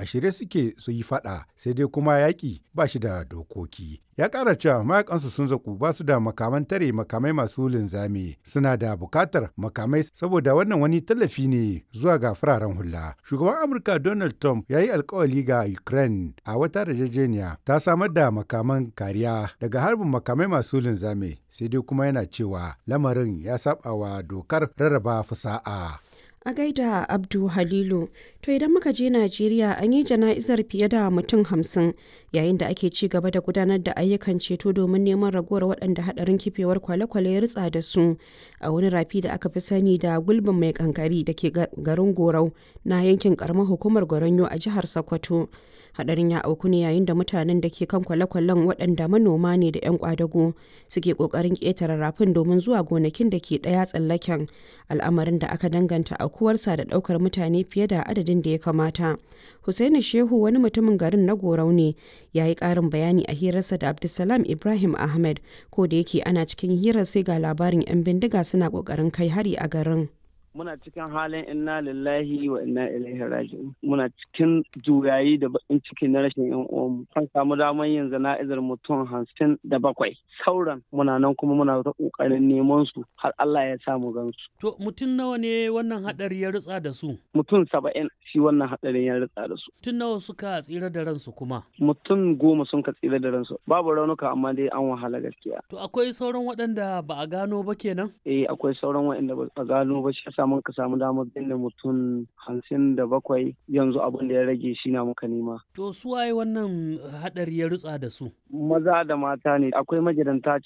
a shirye suke su yi faɗa, sai dai kuma yaƙi ba shi da dokoki. Ya ƙara cewa mayakansu sun zaku, ba su da makaman tare makamai masu linzami, suna da bukatar makamai saboda wannan wani tallafi ne zuwa ga fararen hula. Shugaban Amurka Donald Trump ya yi alkawali ga Ukraine a wata yarjejeniya ta samar da makaman kariya daga harbin makamai masu linzami, sai dai kuma yana cewa lamarin ya saba wa dokar rarraba fusa'a. A gaida Abdu Halilu. To idan muka je Najeriya, an yi jana'izar fiye da mutum 50 yayin da ake ci gaba da gudanar da ayyukan ceto domin neman ragowar waɗanda haɗarin kifewar kwale-kwale ya ritsa da su a wani rafi da aka fi sani da gulbin mai kankari da ke garin Gorau na yankin karamar hukumar Goronyo a jihar Sokoto. Hadarin ya auku ne yayin da mutanen da ke kan kwale-kwalen, waɗanda manoma ne da 'yan kwadago, suke ƙoƙarin ƙetare rafin domin zuwa gonakin da ke ɗaya tsallaken, al'amarin da aka danganta aukuwarsa da ɗaukar mutane fiye da adadin da ya kamata. Hussaini Shehu wani mutumin garin na Gorau ne, ya yi ƙarin bayani a hirarsa da Abdulsalam Ibrahim Ahmed. Ko da yake ana cikin hirar sai ga labarin 'yan bindiga suna ƙoƙarin kai hari a garin. Muna cikin halin inna lillahi wa inna ilaihi raji'un. Muna cikin juyayi da bakin ciki na rashin yan uwanmu. An samu damar yin jana'izar mutum 57. Sauran muna nan kuma muna ta kokarin neman su har Allah ya samu gansu. To mutum nawa ne wannan hadari ya ritsa da su? Mutum 70 shi wannan hadarin ya ritsa da su. Mutum nawa suka tsira da ransu kuma? Mutum 10 sun ka tsira da ransu. Babu raunuka, amma dai an wahala gaskiya. To akwai sauran waɗanda ba a gano ba kenan? Eh, akwai sauran waɗanda ba a gano ba, shi yasa muka samu damar binne mutum 57. Yanzu abin da ya rage shi na muka nema. To su waye wannan hadari ya rutsa da su? Maza da mata ne, akwai magidanta.